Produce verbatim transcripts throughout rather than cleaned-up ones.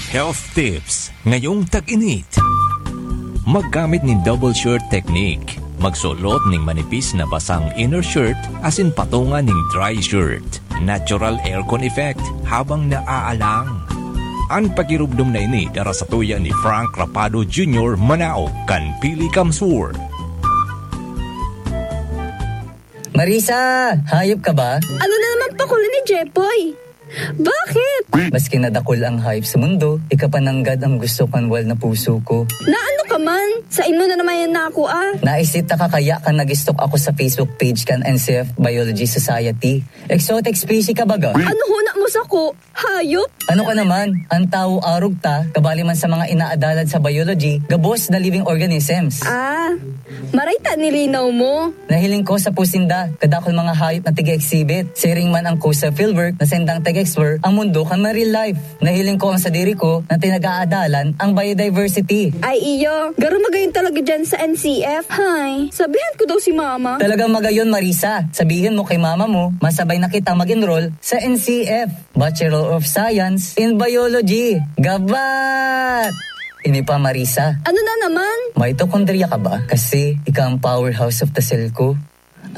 Health tips ngayong tag-init. Maggamit nin double shirt technique. Magsulot ning manipis na basang inner shirt asin patunga ning dry shirt. Natural aircon effect habang naaalang. An pakirumdom na ini dara sa tuya ni Frank Rapado Junior, Manao, kan Pili Kamsur. Marisa, hayop ka ba? Ano na naman pakuli ni Jepoy? Bakit? Maski na dakul ang hayop sa mundo, ika pa nanggad ang gusto kan wal na puso ko. Na ano ka man? Sa imo na naman yan na ako ah. Naisita ka kaya kan nag-stalk ako sa Facebook page kan N C F Biology Society. Exotic species ka baga? Ano huna mo sa ko? Hayop? Ano ka naman? Ang tawo arog ta, kabali man sa mga inaadalan sa biology, gabos na living organisms. Ah, maray ta nilinaw mo. Nahiling ko sa pusinda, kadakol mga hayop na tiga-exhibit. Siring man ang Coastal Fieldwork na sendang tag-explore ang mundo kan marine life. Nahiling ko ang sadiri ko na tinag-aadalan ang biodiversity. Ay iyo, garo magayon talaga dyan sa N C F. Hay, sabihan ko daw si mama. Talagang magayon, Marisa. Sabihin mo kay mama mo, masabay na kitang mag-enroll sa N C F, Bachelor of Science in Biology. Gabat! Ini pa, Marisa. Ano na naman? Mitochondria ka ba? Kasi ika ang powerhouse of the cell ko.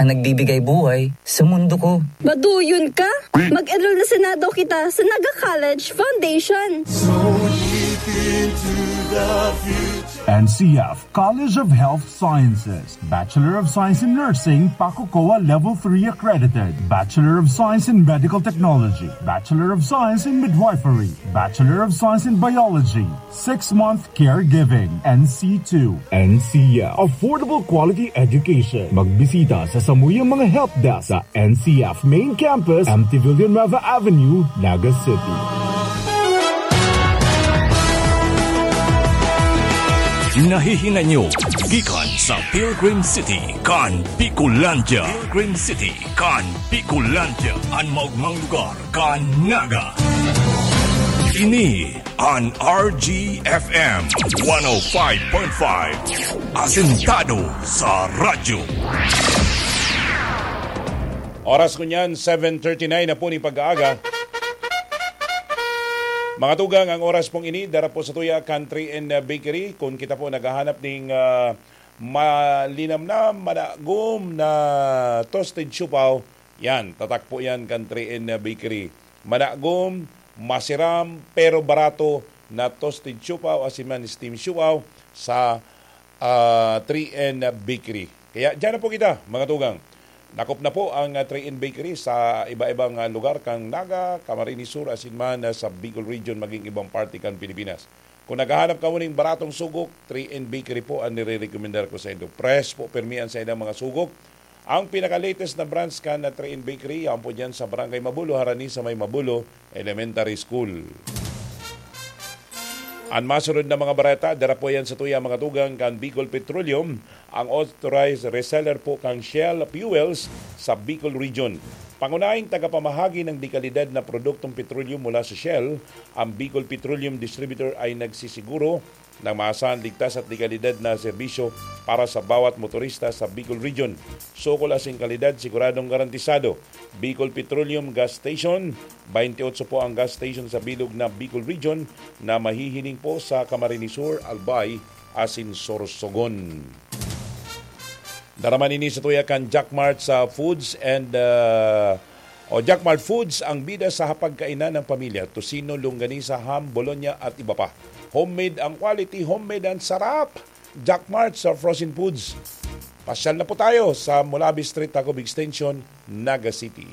Ang nagbibigay buhay sa mundo ko. Maduyon ka? Mag-enroll na sana daw kita sa Naga College Foundation. N C F College of Health Sciences, Bachelor of Science in Nursing, PACOCOA Level three accredited, Bachelor of Science in Medical Technology, Bachelor of Science in Midwifery, Bachelor of Science in Biology, six-month Caregiving, N C two. N C F. Affordable quality education. Magbisita sa samuyang mga help desk sa N C F Main Campus, M T Villanueva Avenue, Naga City. Nahihinay nyo gikan sa Pilgrim City, kan Bicolandia. Pilgrim City, kan Bicolandia. An maugmang lugar kan Naga. Ini an R G F M one oh five point five, asentado sa radyo. Oras ko niyan, seven thirty-nine na po ni pag-aaga. Mga tugang, ang oras pong ini, dara po sa tuya, Country and Bakery. Kung kita po naghahanap ning ah, malinamnam, madagom na toasted siopao, yan, tatak po yan kan three N Bakery. Madagom, masiram, pero barato na toasted siopao, asin man steam siopao sa ah, three N Bakery. Kaya dyan na po kita, mga tugang. Nakop na po ang ah, three N Bakery sa iba-ibang ah, lugar kang Naga, Camarines Sur, asin man ah, sa Bicol Region, maging ibang parte kan Pilipinas. Kung naghahanap kamo ning baratong sugok, three N Bakery po ang nire-recommendar ko sa indo. Fresh po, permi ang saindang mga sugok. Ang pinaka-latest na brands kan na three N Bakery, yan po dyan sa Barangay Mabulo, harani sa may Mabulo Elementary School. An masunod na mga bareta, dara po yan sa tuya mga tugang kan Bicol Petroleum, ang authorized reseller po kan Shell Fuels sa Bicol Region. Pangunahing tagapamahagi ng dekalidad na produktong petroleum mula sa Shell, ang Bicol Petroleum Distributor ay nagsisiguro ng maasahan, ligtas at dekalidad na serbisyo para sa bawat motorista sa Bicol Region. Sukol asin kalidad, siguradong garantisado. Bicol Petroleum Gas Station, twenty-eight po ang gas station sa bilog na Bicol Region na mahihiling po sa Camarines Sur, Albay, asin Sorsogon. Dara man ini sa tuya kan Jack Mart sa Foods and, ah, o Jack Mart Foods, ang bida sa hapagkainan ng pamilya. Tocino, longganisa, ham, bologna at iba pa. Homemade ang quality, homemade ang sarap. Jack Mart sa frozen foods. Pasyal na po tayo sa Mulabi Street, Tacob Extension, Naga City.